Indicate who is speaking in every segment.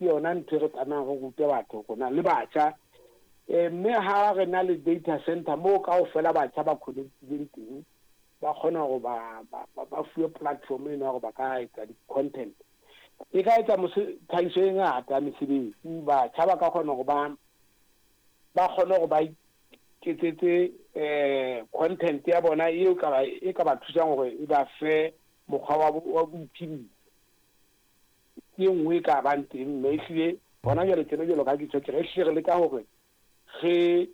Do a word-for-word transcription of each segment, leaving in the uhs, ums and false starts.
Speaker 1: Ke yona ntho e re tlamehang re rute batho rona le batjha. Mme ha re na le data center moo kaofela batjha ba connect-ileng teng, ba kgona hore ba ba fuwe platform eno ya hore ba ka etsa di-content. E ka etsa tlhahiso e ngata ya mesebetsi. Batjha ba ka kgona hore ba ba kgone hore ba iketsetse content ya bona eo ka e ka ba thusang hore e ba fe mokgwa wa wa boiphediso. Ke e nngwe e ka bang teng, mme ehlile hona jwale tjena jwalo ka ha ke tjho, ke re ehlile re leka hore re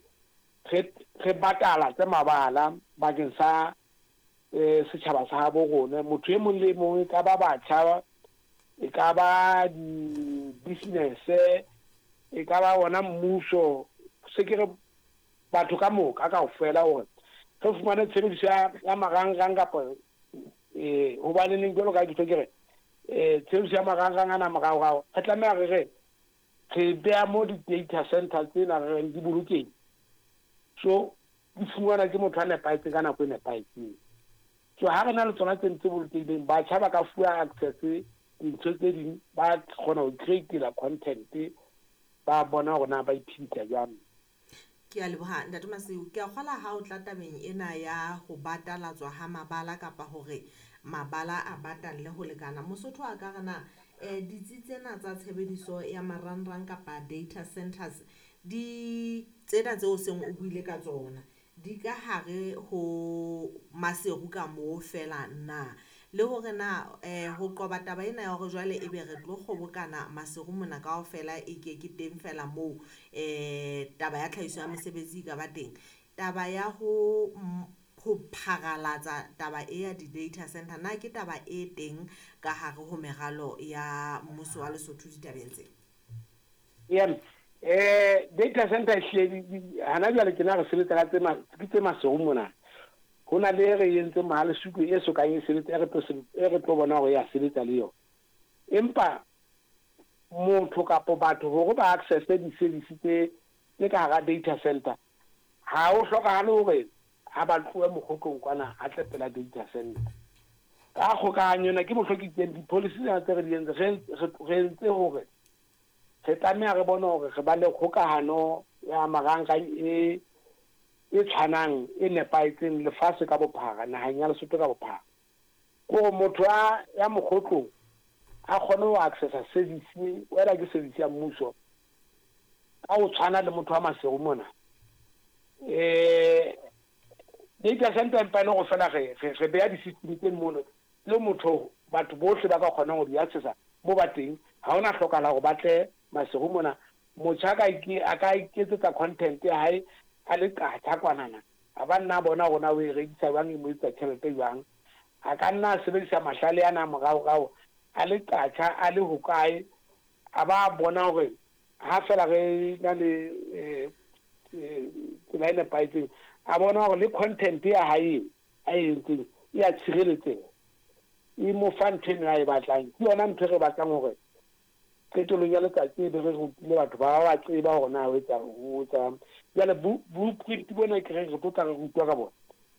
Speaker 1: re re batala tse mabala bakeng sa setjhaba sa habo rona. Motho e mong le e mong, e ka ba batjha, e ka ba di-business, e ka ba ona mmuso, se ke re batho ka moka kaofela hore re fumane tshebediso ya marangrang kapa eh hobaneneng jwalo ka ha ke tjho ke re eh tshebediso ya marangrang ana moraorao re tlameha re re re beha mo di-data center tsena re reng di bolokehile. So di fumanwa ke motho a nepahetseng ka nako e nepahetseng. So ha re na le tsona tse tse bolokehileng, batjha ba ka fuwa access dintho tse ding, ba kgona ho create-ela content, ba bona hore na ba iphedisa jwang.
Speaker 2: Ke a leboha Ntate Masiu. Ke a kgola ha o tla tabeng ena ya ho batalatswa ha mabala kapa hore mabala a batalle ho lekana. Mosotho a ka re na eh ditsi tsena tsa tshebediso ya marangrang kapa data centers di tsena tseo seng o buile ka tsona di ka hare ho Maseru ka moo fela na? Le hore na eh ho qoba taba ena ya hore jwale ebe re tlo kgobokana Maseru mona kaofela e ke ke teng fela moo eh taba ya tlhahiso ya mesebetsi e ka ba teng. Taba ya ho ho pharalatsa taba e ya di-data center na ke taba e teng ka hare ho meralo ya mmuso wa Lesotho ditabeng tse?
Speaker 1: Yeah. Eh data center ehlile hana jwale ke na re sebetsa ka tse ke tse Maseru mona. Ho na le re entseng Mohalesuku e sokang e sebetsa, e re tlo e re tlo bona hore ya sebetsa le yona. Empa motho kapa batho hore ba access di-service tse tse ka hara data center, ha ho hlokahale hore ha ba tlohe mokgotlong kwana a tle pela data center. Ka kgokahanyo ena ke mohlo ke itseng di-policy tsena tse re di entse, re entse hore re tlameha re bone hore re ba le kgokahano ya marangrang e e tshwanang e nepahetseng lefatshe ka bophara, naheng ya Lesotho ka bophara. Kore motho a ya mokgotlong a kgone ho accessa service, whether ke service ya mmuso ka ho tshwana le motho wa Maseru mona. Eh data center empa e le hore fela re re beha di-system tse mono le motho batho bohle ba ka kgonang ho di accessa mo ba teng. Ha hona hlokahala hore ba tle Maseru mona. Motjha a ka iketsetsa content ya hae a le qatha kwanana, a ba nna bona hore na o e rekisa jwang, e mo etsa tjhelete jwang. A ka nna a sebedisa mahlale ana moraorao a le qatha a le hokae, a ba bona hore ha fela re na le tsela e nepahetseng, a bona hore le content ya hae a e entseng e ya tshireletseha, e mo fa ntho eno a e batlang. Ke yona ntho e re batlang hore qetellong ya letsatsi e be re rutile batho ba ba tseba hore na ho etsa ho etsa. Jwale blueprint bona ke re re tlo tla re rutwa ka bona,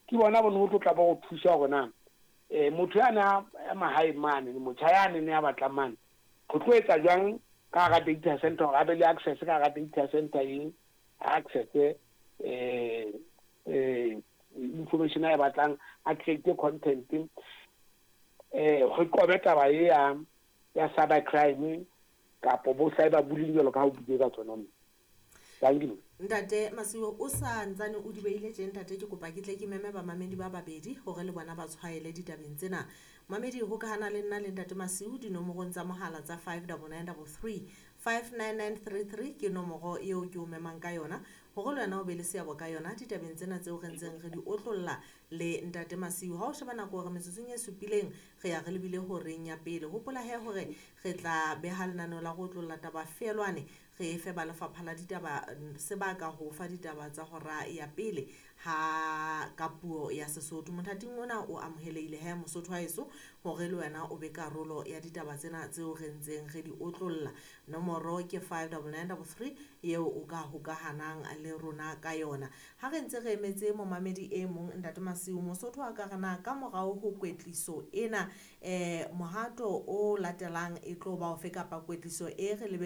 Speaker 1: ke bona bo no tlo tla ba go thusa hore na eh motho yana ya mahae mane, motjha yane ne a batlang mane, go tlo etsa jwang ka hara data center hore a be le access ka hara data center e access eh eh information a e batlang, a create content, eh re qobe taba e ya ya cyber crime kapo bo cyber bullying jwalo ka ha o buile ka tsona. Thank you.
Speaker 2: Ntate Masiu, o sa ntsane o di beile tje ntate, ke kopa ke tle ke meme bamamedi ba babedi hore le bona ba tshwaele ditabeng tsena. Mamedi hokahana le nna le Ntate Masiu dinomorong tsa mohala tsa five double nine double three, five nine nine three three ke nomoro eo ke o memang ka yona hore le wena o be le seabo ka yona ditabeng tsena tseo re ntseng re di otlolla le Ntate Masiu. Ha o sheba nako hore metsotsong e supileng re ya re lebile horeng ya pele. Hopola he hore re tla beha lenaneo la go otlolla taba feelwane, re fe ba lefapha la ditaba sebaka ho fa ditaba tsa hora ya pele ha ka puo ya Sesotho. Mothating ona o amohelehile he Mosotho wa heso hore le wena o be karolo ya ditaba tsena tseo re ntseng re di otlolla. Nomoro ke five double nine double three eo o ka hokahanang le rona ka yona. Ha re ntse re emetse momamedi e mong Ntate Masiu, Mosotho a ka re na ka morao ho kwetliso ena eh mohato o latelang e tlo ba ofe kapa kwetliso e re lebe